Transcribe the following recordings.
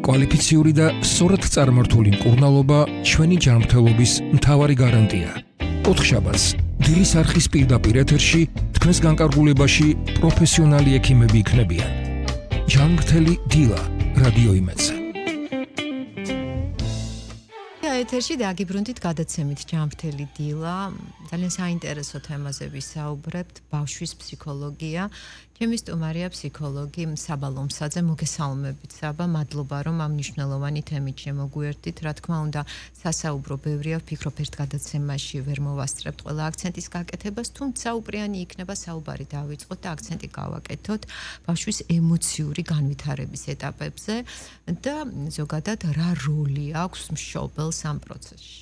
კვალიფიციური და სწორად წარმართული მკურნალობა ჩვენი ჯანმრთელობის მთავარი გარანტია. ოთხშაბათს დილის არხის პირდაპირ ეთერში თქვენს განკარგულებაში პროფესიონალი ექიმები იქნებიან. ჯანმრთელი დილა რადიო იმედზე. ეთერში დაგიბრუნდით გადაცემით ჯანმრთელი დილა. ძალიან საინტერესო თემაზე ვისაუბრებთ, ბავშვის ფსიქოლოგია. ჩემი სტუმარია ფსიქოლოგი საბა ლომსაძე. მოგესალმებით საბა, მადლობა რომ ამ მნიშვნელოვანი თემით შემოგვიერთდით. რა თქმა უნდა, სასაუბრო ბევრია, ვფიქრობ ერთ გადაცემაში ვერ მოვასწრებთ ყველა აქცენტის გაკეთებას, თუმცა უპრიანი იქნება საუბარი დავიწყოთ და აქცენტი გავაკეთოთ ბავშვის ემოციური განვითარების ეტაპებზე და ზოგადად რა როლი აქვს მშობელს ამ პროცესში.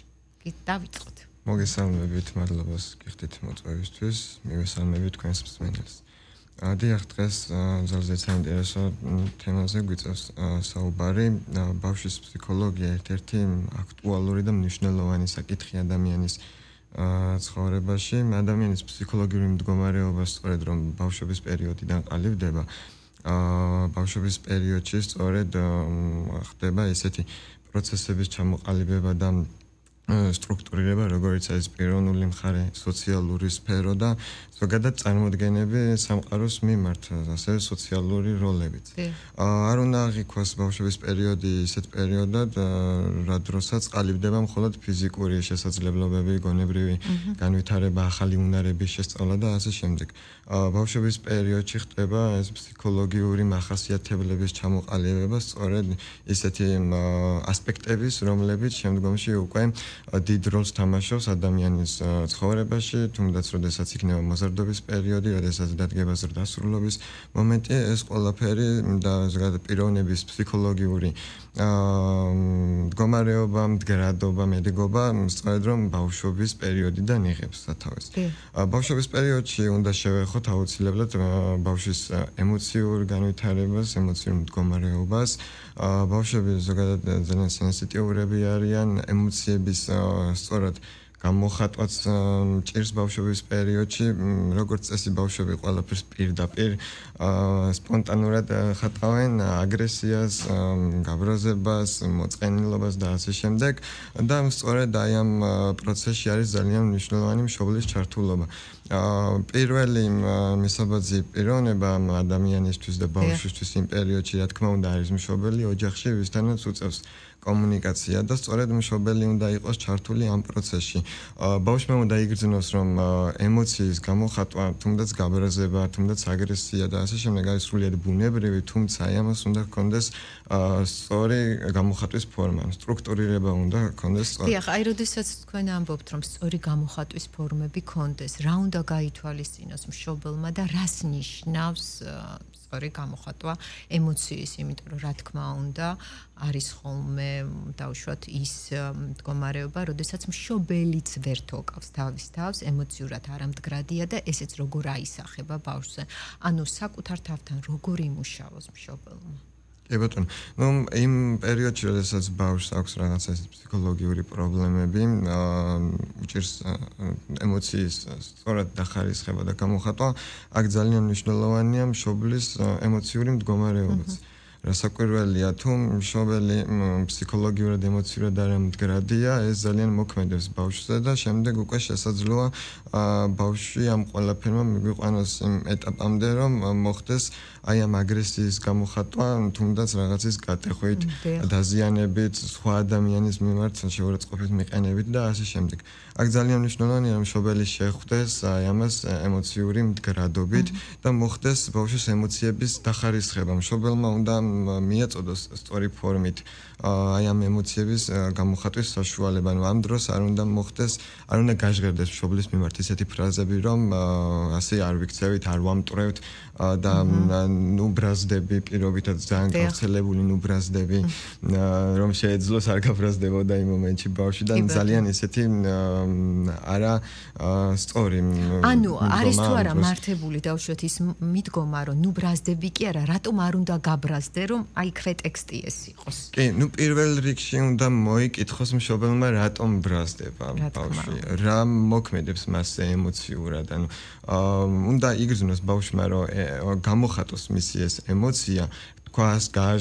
დავიწყოთ. მოგესალმებით, მადლობას გიხდით მოწვევისთვის, მივესალმებით თქვენს მსმენელს. დიახ, დღეს ძალზე საინტერესო თემაზე გვიწევს საუბარი. ბავშვის ფსიქოლოგია ერთ-ერთი აქტუალური და მნიშვნელოვანი საკითხი ადამიანის ცხოვრებაში. ადამიანის ფსიქოლოგიური მდგომარეობა სწორედ რომ ბავშვობის პერიოდიდან ყალიბდება, ბავშვობის პერიოდში სწორედ ხდება ესეთი პროცესების ჩამოყალიბება და სტრუქტურირება, როგორც არის პიროვნული მხარე, სოციალური სფერო და ზოგადად წარმოდგენები სამყაროს მიმართ, ასევე სოციალური როლებიც. არ უნდა აღიქვას ბავშვობის პერიოდი ისეთ პერიოდად, რა დროსაც ყალიბდება მხოლოდ ფიზიკური შესაძლებლობები, გონებრივი განვითარება, ახალი უნარების შესწავლა და ასე შემდეგ. ბავშვობის პერიოდში ხდება ეს ფსიქოლოგიური მახასიათებლების ჩამოყალიბება, სწორედ ისეთი ასპექტების, რომლებიც შემდგომში უკვე დიდ როლს თამაშობს ადამიანის ცხოვრებაში, თუნდაც როდესაც იქნება მოზარდობის პერიოდი, როდესაც დადგება ზრდასრულობის მომენტი, ეს ყველაფერი და ზოგადად პიროვნების ფსიქოლოგიური მდგომარეობა, მდგრადობა, მედეგობა, სწორედ რომ ბავშვობის პერიოდიდან იღებს სათავეს. ბავშვობის პერიოდში უნდა შევეხოთ აუცილებლად ბავშვის ემოციურ განვითარებას, ემოციურ მდგომარეობას. ბავშვები ზოგადად ძალიან სენსიტიურები არიან ემოციების სწორად გამოხატვაც ჭირს ბავშვობის პერიოდში, როგორც წესი ბავშვები ყველაფერს პირდაპირ სპონტანურად ხატავენ, აგრესიას, გაბრაზებას, მოწყენილობას და ასე შემდეგ და სწორედ აი ამ პროცესში არის ძალიან მნიშვნელოვანი მშობლის ჩართულობა. პირველი მისაბაძი პიროვნება ადამიანისთვის და ბავშვისთვის იმ პერიოდში, რა თქმა უნდა, არის მშობელი ოჯახში, ვისთანაც უწევს კომუნიკაცია და სწორედ მშობელი უნდა იყოს ჩართული ამ პროცესში. ბავშვმა უნდა იგრძნოს, რომ ემოციის გამოხატვა, თუნდაც გაბრაზება, თუნდაც აგრესია და ასე შემდეგ არის სრულიად ბუნებრივი, თუმცა ამას უნდა ჰქონდეს სწორი გამოხატვის ფორმა, სტრუქტურირება უნდა ჰქონდეს სწორი. დიახ, აი როდესაც თქვენ ამბობთ, რომ სწორი გამოხატვის ფორმები ჰქონდეს, რა უნდა გაითვალისწინოს მშობელმა და რას ნიშნავს სწორი გამოხატვა ემოციის, იმიტომ რომ რა თქმა უნდა არის ხოლმე დავუშვათ ის მდგომარეობა, როდესაც მშობელიც ვერ თოკავს თავის თავს, ემოციურად არამდგრადია და ესეც როგორ აისახება ბავშვზე. ანუ საკუთარ თავთან როგორ იმუშავოს მშობელმა. კი ბატონო, იმ პერიოდში, როდესაც ბავშვს აქვს რაღაცა ფსიქოლოგიური პრობლემები, უჭირს ემოციის სწორად დახარისხება და გამოხატვა, აქ ძალიან მნიშვნელოვანია მშობლის ემოციური მდგომარეობაც. რასაკვირველია, თუ მშობელი ფსიქოლოგიურად, ემოციურად არამდგრადია, ეს ძალიან მოქმედებს ბავშვზე და შემდეგ უკვე შესაძლოა ბავშვი ამ ყველაფერმა მიგვიყვანოს იმ ეტაპამდე, რომ მოხდეს აი ამ აგრესიის გამოხატვა, თუნდაც რაღაცის გატეხვით, დაზიანებით, სხვა ადამიანის მიმართ შეურაცხყოფით მიყენებით და ასე შემდეგ. აქ ძალიან მნიშვნელოვანია, რომ მშობელი შეხვდეს აი ამას ემოციური მდგრადობით და მოხდეს ბავშვის ემოციების დახარისხება. მშობელმა უნდა მიაწოდოს სწორი ფორმით აი ამ ემოციების გამოხატვის საშუალება. ანუ ამ დროს არ უნდა მოხდეს, არ უნდა გაჟღერდეს მშობლის მიმართ ისეთი ფრაზები, რომ ასე არ ვიქცევით, არ ვამტვრევთ და ნუ ბრაზდები, პირობითად ძალიან გავრცელებული ნუ ბრაზდები, რომ შეეძლოს არ გაბრაზდებოდა იმ მომენტში ბავშვი და ძალიან ისეთი არა სწორი. ანუ არის თუ არა მართებული დავუშვათ ის მიდგომა, რომ ნუ ბრაზდები კი არა, რატომ არ უნდა გაბრაზდე, რომ აი ქრეტექსტი ეს იყოს. კი, ნუ პირველ რიგში უნდა მოიკითხოს მშობელმა რატომ ბრაზდება ბავშვი, რა მოქმედებს მასზე ემოციურად, ანუ უნდა იგრძნოს ბავშვმა, რომ გამოხატოს მისი ეს ემოცია, თქვას, გააჟღეროს